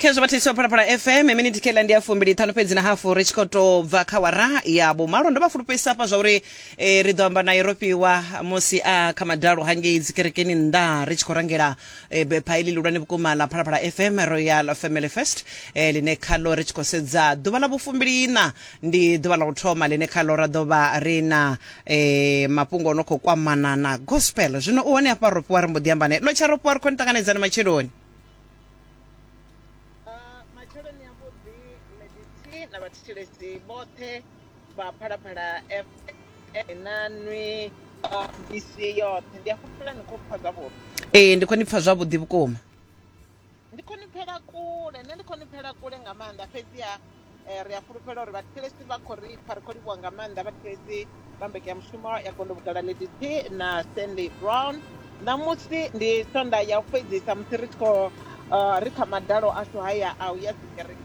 Khezwo vhathetshelesi vha Phalaphala FM, miniti khela ndi ya 25 fhedzi na hafu ri tshi khou tou bva kha wara ya vhumalo. Ndo vha fulufhedzisa hafha zwa uri eh, ri ḓo amba naye Rofhiwa musi a kha madalo hangei dzikerekeni nnḓa ri tshi khou rangela eh, bepha iḽi ḽihulwane vhukuma ḽa Phalaphala FM Royal Family Fest eh, ḽine khaḽo ri tshi khou sedza ḓuvha ḽa vhufumbiliiṋa ndi ḓuvha ḽa u thoma ḽine khaḽo ra ḓo vha ri na eh, mafhungo o no khou kwamana na gospel. Zwino u hone hafha Rofhiwa ri mbo ḓi amba naye. Lotsha Rofhiwa, ri khou ni ṱanganedza na matsheloni. Matsheloni avhuḓi Lady T na vhathetshelesi vhoṱhe vha Phalaphala FM na nwi misi yoṱhe. Ndi a fhulufhela ni khou pfa zwavhuḓi. Ee, ndi khou ni pfa zwavhuḓi vhukuma. Ndi khou ni pfela kule, nṋe ndi khou ni pfela kule nga maanḓa fhedziha ri a fhulufhela uri vhathetshelesi vha khou ri pfa. Ri khou livhuwa nga maanḓa vhathetshelesi vha mbekanyamushumo ya Gondo Vhugala Lady T na Stanley Brown. Ṋamusi ndi Sonda ya u fhedzisa musi ri tshi khou ri kha madalo ashu haya a u ya dzikerekeni.